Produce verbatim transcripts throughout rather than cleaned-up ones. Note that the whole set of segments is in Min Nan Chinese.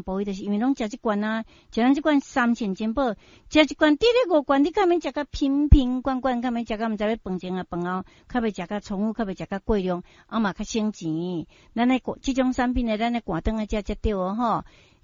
部位，就是因為攏食這罐啊，食咱這罐三線珍寶，食一罐，佇咧五罐，你較免食甲瓶瓶罐罐，較免食甲毋知欲飯前啊飯後，較袂食甲重複，較袂食甲過量，啊嘛較省錢。咱咧這種產品呢，咱咧寒頓來食才對哦吼。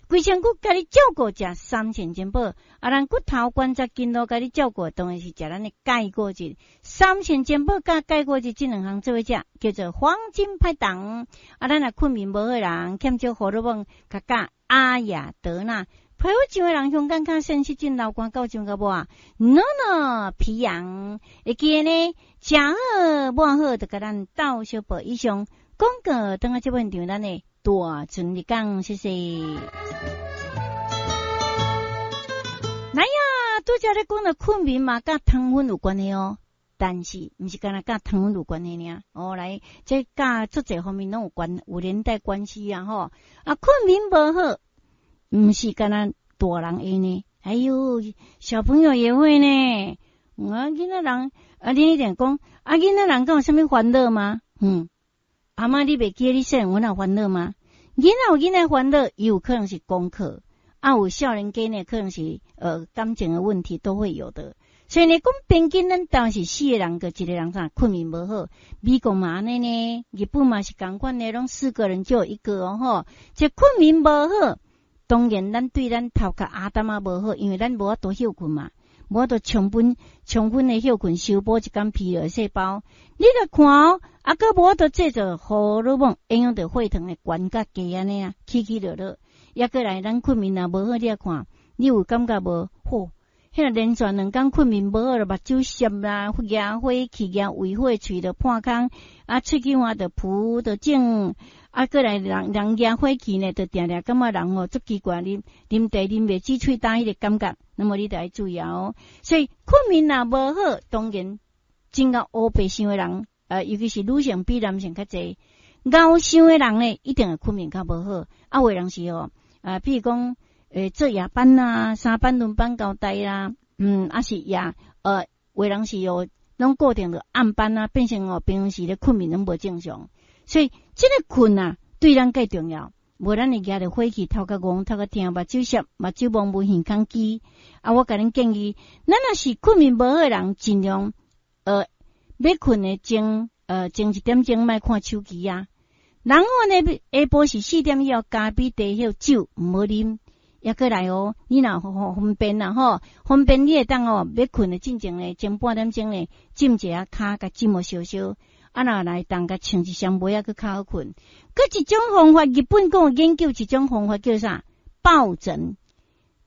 規身軀共你照顧食三線珍寶，啊，咱骨頭關節筋路共你照顧，當然是食咱的鈣骨質。三線珍寶佮鈣骨質這兩項做伙食，叫做黃金拍檔。啊，咱若睏眠無好人，欠少荷爾蒙，較佮阿亞德娜。皮膚上的人，香港跤腎失症、老乾到上個無啊？No no，皮炎會記得呢，食好抹好，就共咱鬥相報。以上廣告，等下這份場咱的大船日講，謝謝。來呀，拄才咧講著睏眠嘛，佮糖分有關係哦。但是，毋是干焦佮糖分有關係爾。哦，來，這佮足濟方面攏有關，有連帶關係啊！吼，啊，睏眠無好，毋是干焦大人會呢。哎喲，小朋友也會呢。啊，囡仔人，啊，你一定講，啊，囡仔人敢有啥物煩惱嗎？嗯，阿嬤，你袂記得你細漢阮有煩惱嗎？囡仔有囡仔煩惱，伊有可能是功課，啊，有少年家呢，可能是呃感情的問題都會有的。所以呢，講平均咱當時四個人閣一個人啥睏眠無好，美國嘛按呢呢，日本嘛是仝款的，攏四個人就有一個哦吼。這睏眠無好，當然咱對咱頭殼阿擔仔無好，因為咱無法度歇睏嘛，無法度充分充分的歇睏，修補一工疲勞細胞。你來看哦，啊，閣無法度製造荷爾蒙，影響著血糖的懸佮低按呢啊，起起落落。抑閣來，咱睏眠若無好，你來看，你有感覺無？吼，彼個連續兩工睏眠無好，就目睭澀啦，惹火氣，惹胃火，喙就破空，啊，喙齒換就浮就腫，啊，閣來人人惹火氣呢，就定定感覺人吼足奇怪，啉啉茶啉袂止喙焦彼個感覺，那麼你著愛注意哦。所以睏眠若無好，當然真𠢕烏白想的人，呃，尤其是女性比男性較濟，𠢕想的人呢，一定會睏眠較無好。啊，有的人是哦，啊，比如講，欸，做夜班啊，三班輪班交代啦，嗯，啊是夜，呃，有的人是哦，攏固定著暗班啊，變成哦，平常時咧睏眠攏無正常。所以這個睏啊，對咱蓋重要。無咱會惹著火氣，頭殼戇，頭殼疼，目睭澀，目睭蒙霧，耳孔機。啊，我共恁建議，咱若是睏眠無好的人，盡量呃，欲睏的前呃前一點鐘莫看手機啊。然後呢，下晡是四點以後，咖啡、茶、酒毋好啉。抑閣來哦，你若方便啦吼，方便你會當哦，欲睏的進前呢，前半點鐘呢，浸一下跤，共浸摩燒燒。啊，若來當共穿一雙襪仔閣較好睏。閣一種方法，日本閣有研究一種方法叫啥？抱枕。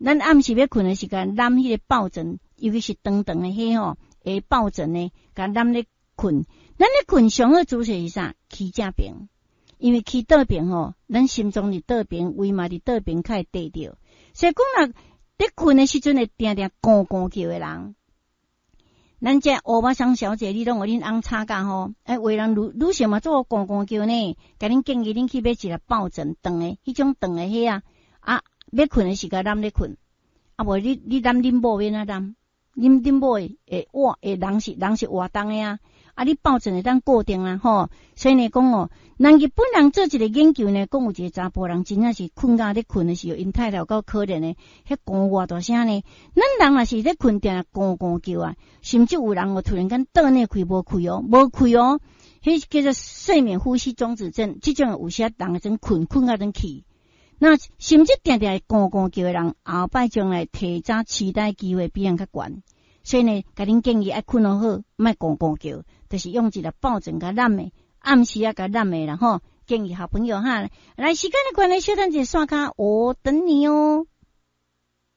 咱暗時欲睏的時間，攬彼個抱枕，尤其是長長的彼吼，會抱枕呢，共攬咧睏。咱咧睏上好姿勢是啥？起正爿，因為起倒爿吼，咱心臟佇倒爿，胃嘛佇倒爿，較會綴著。所以講若咧睏的時陣會定定咕咕叫的人，咱這歐巴桑小姐，你攏予恁翁吵甲吼，哎，有的人女女性嘛做咕咕叫呢，共恁建議恁去買一个抱枕長的，彼種長的彼啊，啊，欲睏的時間攬咧睏，啊無你你攬恁某欲按怎攬？恁恁某會會活會人是人是活動的啊，啊你抱枕會當固定啊吼，所以呢講哦，人日本人做一個研究呢，講有一個查埔人真正是睏覺咧睏的時候，𪜶太太有夠可憐的，彼咕偌大聲呢。咱人若是咧睏定咕咕叫啊，甚至有人哦突然間倒內氣無氣哦，無氣哦，彼叫做睡眠呼吸中止症，這種有時人會陣睏睏甲陣去。那甚至定定會咕咕叫的人，後擺將來提早痴呆機會比人較懸。所以呢，共恁建議愛睏好好，莫咕咕叫，就是用一個抱枕共攬的，暗時仔共攬的啦吼。建議好朋友哈，來時間的關係，小等一下刷卡，我等你哦。